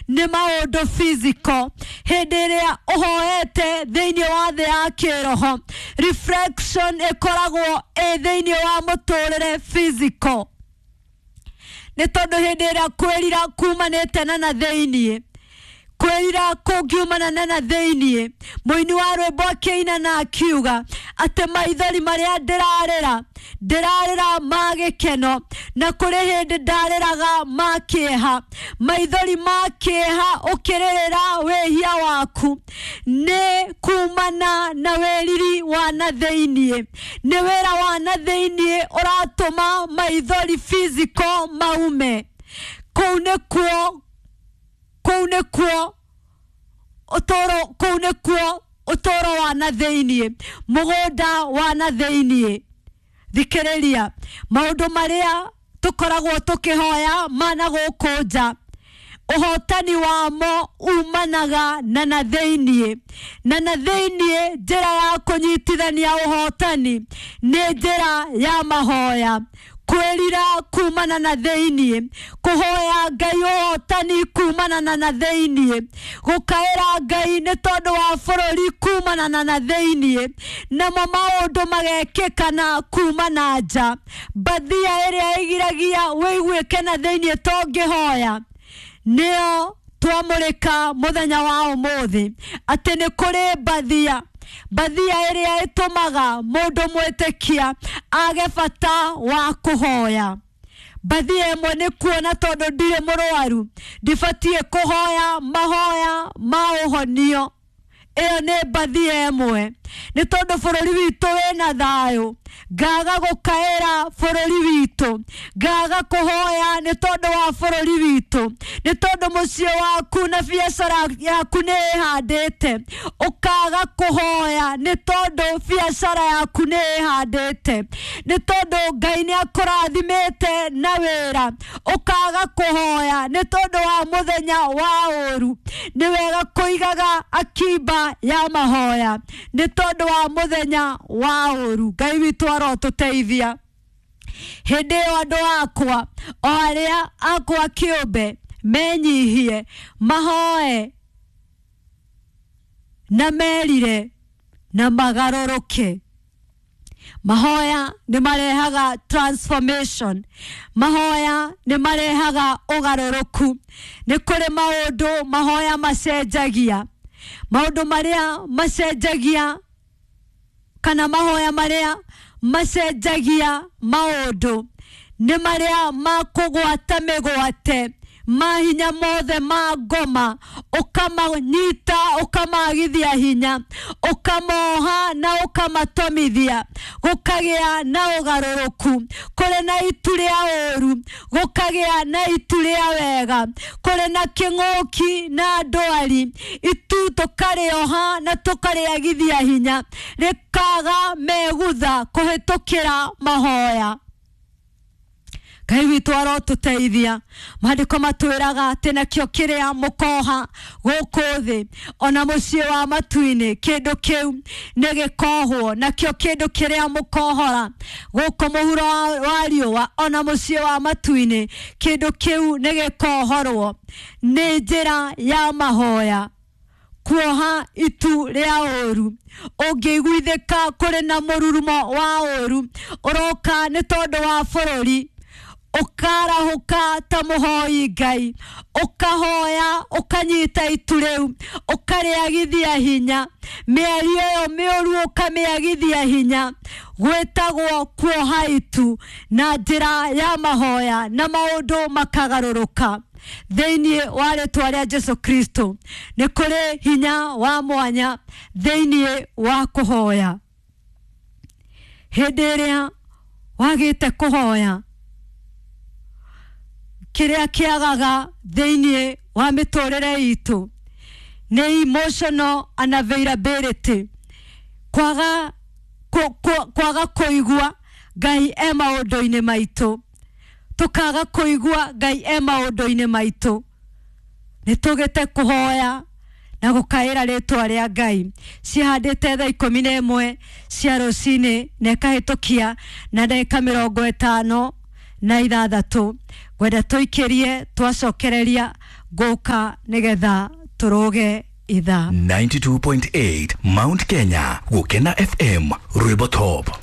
Nĩ maũndũ physical. Hĩndĩ ĩrĩa ũhoete thĩinĩ wa thĩ ya kĩroho, reflection ĩkoragwo ĩ thĩinĩ wa mũtũrĩre physical. Nĩ tondũ hĩndĩ ĩrĩa kwĩrira kumanĩte na thĩinĩ, kwĩrira kũngiumana na thĩinĩ, mũini wa rwĩmbo akĩina na akiuga atĩ maithori marĩa ndĩrarĩra, ndĩrarĩra ma gĩkeno, na kũrĩ hĩndĩ ndarĩraga ma kĩeha. Maithori ma kĩeha ũkĩrĩrĩra wĩhia waku nĩ kumana na wĩriri wa na thĩinĩ. Nĩ wĩra wa na thĩinĩ ũratũma maithori physical maume. Kũu nĩkuo, kũu nĩkuo ũtũũro, kũu nĩkuo ũtũũro wa na thĩinĩ, mũgũnda wa na thĩinĩ. Thikĩrĩria maũndũ marĩa tũkoragwo tũkĩhoya mana gũkũ nja, ũhotani wamo umanaga na thĩinĩ. Na thĩinĩ njĩra ya kũnyitithania ũhotani nĩ njĩra ya mahoya. Kwĩrira kumana na thĩinĩ, kũhoya Ngai ũhotani kumana na thĩinĩ, gũkaĩra Ngai nĩ tondũ wa bũrũri kumana na thĩinĩ, namo maũndũ magekĩka na kuma na nja. Mbathia ĩrĩa ĩgiragia wĩiguĩke na thĩinĩ tũngĩhoya nĩyo twamũrĩka mũthenya wa ũmũthĩ, atĩ nĩ kũrĩ mbathia, mbathia ĩrĩa ĩtũmaga mũndũ mwĩtĩkia age bata wa kũhoya. Mbathia ĩmwe nĩ kuona tondũ ndirĩ mũrwaru, ndibatiĩ kũhoya mahoya ma ũhonio. Ĩyo nĩ mbathia ĩmwe. Nĩ tondũ bũrũri witũ wĩna thayũ, ngaga gũkaĩra bũrũri witũ, ngaga kũhoya nĩ tondũ wa bũrũri witũ, nĩ tondũ mũciĩ waku na biacara yaku nĩ ĩhandĩte, ũkaga kũhoya nĩ tondũ biacara yaku nĩ ĩhandĩte, nĩ tondũ Ngai nĩ akũrathimĩte na wĩra, ũkaga kũhoya nĩ tondũ wa mũthenya wa ũru. Nĩ wega kũigaga akiba ya mahoya nĩ tondũ wa mũthenya wa ũru. Ngai witũ arotũteithia. Hĩndĩ ĩyo andũ akwa o arĩa akwa kĩũmbe menyihie, mahoe na merire na magarũrũke. Mahoya nĩ marehaga transformation, mahoya nĩ marehaga ũgarũrũku. Nĩ kũrĩ maũndũ mahoya macenjagia, maũndũ marĩa macenjagia kana mahoya marĩa macenjagia maũndũ nĩ marĩa ma kũgwata mĩgwate mahinya mothe ma ngoma, ũkamanyita ũkamagithia hinya, ũkamoha na ũkamatomithia, gũkagĩa na ũgarũrũku. Kũrĩ na itu rĩa ũru, gũkagĩa na itu rĩa wega. Kũrĩ na kĩng'ũki na ndwari, itu tũkarĩoha na tũkarĩagithia hinya, rĩkaga megutha kũhĩtũkĩra mahoya. Ngai witũ arotũteithia. Maandĩko matwĩraga atĩ nakĩo kĩrĩa mũkoha gũkũ thĩ ona mũciĩ wa matu-inĩ, kĩndũ kĩu nĩ gĩkohwo, nakĩo kĩndũ kĩrĩa mũkohora gũkũ mũhuro wa riũa ona mũciĩ wa matu-inĩ, kĩndũ kĩu nĩ gĩkohorwo. Nĩ njĩra ya mahoya kuoha itu rĩa ũru. Ũngĩiguithĩka kũrĩ na mũrurumo wa ũru ũroka nĩ tondũ wa bũrũri, ũkarahũka ta mũhoi Ngai, ũkahoya, ũkanyita itu rĩu, ũkarĩagithia hinya, mĩario ĩyo mĩũru ũkamĩagithia hinya. Gwĩtagwo kuoha itu na njĩra ya mahoya, na maũndũ makagarũrũka. Thĩinĩ wa rĩtwa rĩa Jesu Kristo nĩ kũrĩ hinya wa mwanya thĩinĩ wa kũhoya. Hĩndĩ ĩrĩa wagĩte kũhoya, kĩrĩa kĩagaga thĩinĩ wa mĩtũrĩre itũ nĩ emotional unavailability, kwaga kũigua Ngai e maũndũ-inĩ maitũ, tũkaga kũigua Ngai e maũndũ-inĩ maitũ. Nĩ tũgĩte kũhoya na gũkaĩra rĩtwa rĩa Ngai. Cihandĩte thaa ikũmi na ĩmwe cia rũcinĩ na ĩkahĩtũkia na ndagĩka mĩrongo ĩtano na ithathatũ. Ngwenda tũikĩrie twacokereria Ngũka nĩgetha tũrũge ithaa. 92.8 Mount Kenya, Gukena FM, Rwimbo Top.